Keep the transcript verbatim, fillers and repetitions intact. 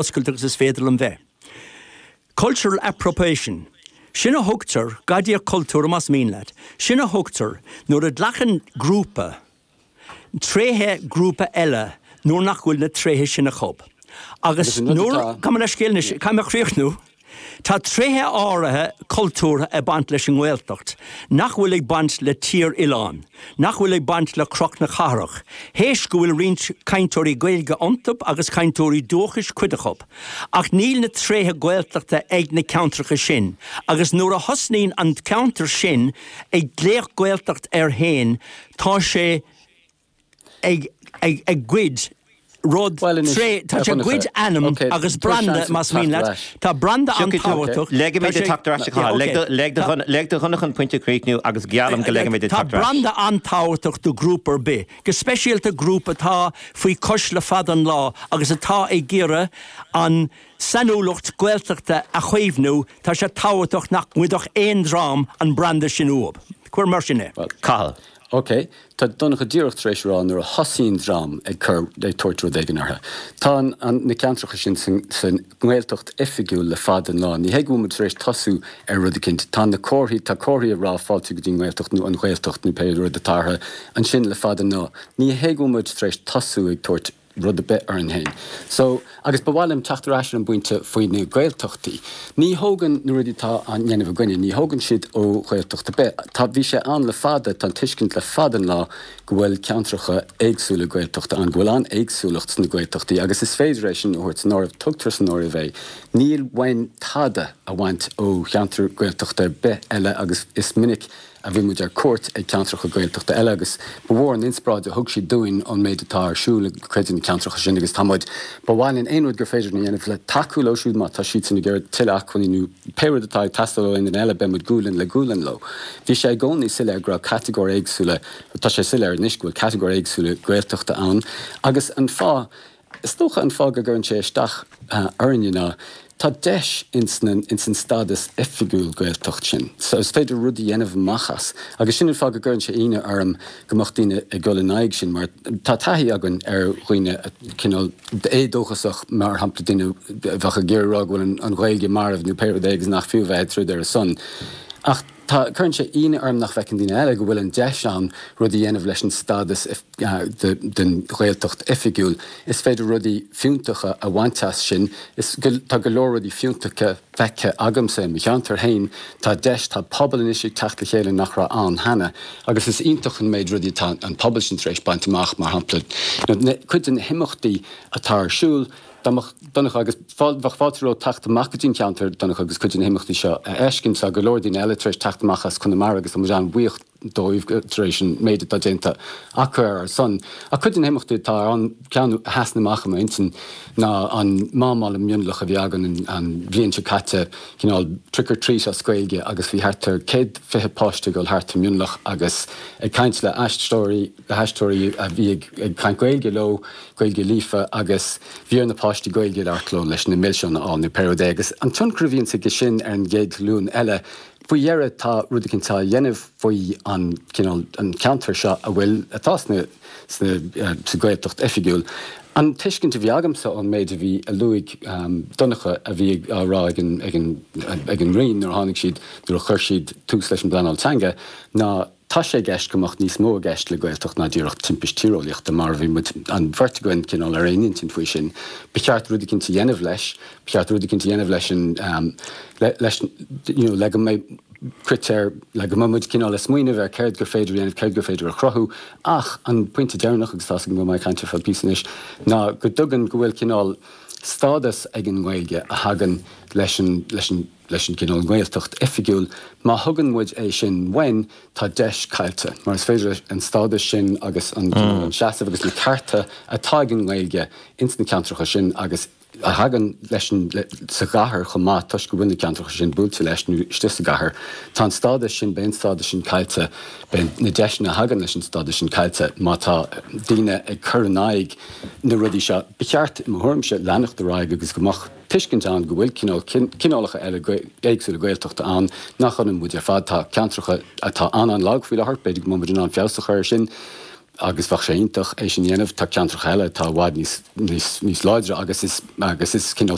Oscailte agus is féidir liom bheith. Cultural appropriation. Sin a thugtar gadaíocht cultúrtha más mian leat. Sin a thugtar nuair a ghlacann grúpa tréithe grúpa eile nuair nach bhfuil na tréithe sin acu. Agus nuair gabh mo leithscéal caithfidh mé críochnú, Tá tréithe áirithe cultúrtha ag baint leis an nGaeltacht, nach bhfuil ag baint le Tír Oileáin, nach bhfuil ag baint le Cnoc na Cathrach, Théis go bhfuil roinnt cainteoirí Gaeilge iontu agus cainteoirí dúchais cuid acu. Ach níl na tréithe Gaeltachta ag na ceantracha sin, agus nuair a thosnaíonn an ceantar sin ag glaoch Gaeltacht air féin tá sé ag ag ag goid rud tré tá sé goid ainm agus branda más mian leat Tá branda an-tábhachtach Ligfimid teacht ar ais lig do Dhonncha an pointe a chríochnú agus geallaim go ligfimid Tá branda an-tábhachtach do ghrúpa ar bith, go speisialta grúpa atá faoi chois le fada an lá agus atá ag iarraidh an sainiúlacht Gaeltachta a chaomhnú tá sé tábhachtach nach ngoidfeadh aon dream an branda sin uathu. Cuir mar sin é. Cathal. Ok, Tá Donncha díreach tar éis rá nuair a thosaíonn dream ag cur ag tabhairt rud éigin orthu. Tá an, an, na ceantracha sin san, san nGaeltacht oifigiúil le fada an lá. Ní hé go bhfuil muid tar éis tosú ar rud éicint. Tá na comharthaí tá comharthaí ag rá fáilte go dtí an nGaeltacht nó an Ghaeltacht nó pé rud atá orthu ansin le fada an lá. Ní hé go bhfuil muid tar éis tosú ag tabhairt rud ar bith orainn féin. So agus ba mhaith liom teacht ar ais ar an bpointe faoi na Gaeltachtaí. Ní thógann na rudaí atá á ndéanamh againne, ní thógann siad ó Ghaeltacht ar bith. Tá bhí sé ann le fada, tá an tuiscint le fada an lá go bhfuil ceantracha éagsúla Gaeltachta ann, go bhfuil an-éagsúlacht sna Gaeltachtaí agus is féidir é sin a thabhairt san áireamh, tugtar san áireamh é. Níl uainn tada a bhaint ó cheantar Gaeltachta ar bith eile agus is minic a bhí muid ar cuairt ag ceantracha Gaeltachta eile agus ba mhór an inspioráid a thug siad dúinn an méid atá ar siúl ag cuid de na ceantracha sin agus tá muid ba mhaith linn aon rud gur féidir a dhéanamh le tacú leo siúd má tá siad sin ag iarraidh tuilleadh acmhainní nó pé rud atá ag teastáil ó aon duine eile beidh muid gualainn le gualainn leo. Bhí sé i gcónaí soiléir go raibh catagóir éagsúla tá sé soiléir anois go bhfuil catagóir éagsúla Gaeltachta ann agus an fáth is dócha an fáth go gcuireann sé isteach orainne ná tá deis ins ins an stádas oifigiúil Gaeltacht sin. So is féidir rud a dhéanamh amach as. Agus sin an fáth go gcuireann sé ionadh orm go mbeadh daoine ag dul in aghaidh sin, mar tá taithí againn ar dhaoine cineál éadóchasach mar shampla daoine a bheadh ag iarraidh rá go bhfuil an Ghaeilge marbh nó pé rud é agus nach fiú bheith ag troid ar a son. Ach tá cuireann sé ionadh orm nach bhfeiceann daoine eile go bhfuil an deis ann rud a dhéanamh leis an stádas den Ghaeltacht oifigiúil. Is féidir rudaí fiúntacha a bhaint as sin. Is tá go leor rudaí fiúntacha feicthe agamsa i mo cheantar féin. Tá deis tá pobal anois ag teacht le chéile nach raibh ann cheana, agus is iontach an méid rudaí atá an pobal sin tar éis baint amach mar shampla cuid de na himeachtaí atá ar siúl dá mbeadh Donncha agus bheadh fáilte romhat teacht amach go dtí an ceantar Donncha agus cuid de na himeachtaí seo a fheiscint. Tá go leor daoine eile tar éis teacht amach as Conamara agus tá muid an-bhuíoch dóibh tar éis an méid atá déanta acu ar ár son. Ach cuid de na himeachtaí atá ann ceann a sheasann amach i m'intinn ná an mámáil i Mionlach a bhí againn an bhliain seo caite, cineál trick or treat as Gaeilge agus bhí thart ar céad fiche páiste ag dul thart i Mionlach agus ag caint le haisteoirí le haisteoirí a bhí ag caint Gaeilge leo, Gaeilge líofa agus bhí ar na páistí Gaeilge a labhairt leo leis na milseáin a fháil nó pé rud é agus an tionchar a bhíonns aige sin ar an gcéad ghlúin eile faoi dheireadh tá rud éicint á dhéanamh faoi an cineál an ceantar seo a bhfuil atá sna sna sa Ghaeltacht oifigiúil. An tuiscint a bhí agamsa ón méid a bhí a luaigh Donncha a bhí á rá ag an ag an ag an Roinn nuair a tháinig siad nuair a chuir siad tús leis an bpleanáil teanga ná tá sé i gceist go mbeadh níos mó i gceist le Gaeltacht ná díreach timpist tíreolaíochta mar a bhí muid an bheirt againn cineál ar aon intinn faoi sin. Ba cheart rud éicint a dhéanamh leis, ba cheart rud éicint a dhéanamh leis an leis you know, le go mbeidh critéir le go mbeidh muid cineál ag smaoineamh ar céard gur féidir a dhéanamh, céard gur féidir a chruthú ach an pointe deireanach agus tá a fhios agam go mbeidh mé ag caint ar feadh píosa anois ná go dtugann go bhfuil cineál stádas ag an nGaeilge a thagann leis an leis an leis an gcineál Gaeltacht oifigiúil. Má thugann muid é sin uainn, tá deis caillte, mar is féidir leis an stádas sin agus an cineál an seasamh agus na cearta atá ag an nGaeilge ins na ceantracha sin agus a thagann leis an sa gcathair chomh maith toisc go bhfuil na ceantracha sin buailte leis nó istigh sa gcathair, tá an stádas sin, beidh an stádas sin caillte, beidh na deiseanna a thagann leis an stádas sin caillte má tá daoine ag cur in aghaidh na rudaí seo. Ba cheart, i mo thuairimse, leanacht ar aghaidh agus go mbeadh tuiscint ann go bhfuil cineál cineálacha eile éagsúla Gaeltachta ann nach ionann muid ar fad. Tá ceantracha atá an-an-lag faoi láthair, b'fhéidir go mbeidh muid in ann feabhas a chur air sin. agus bheadh sé iontach é sin dhéanamh tá ceantracha eile atá i bhfad níos níos níos láidre agus is agus is cineál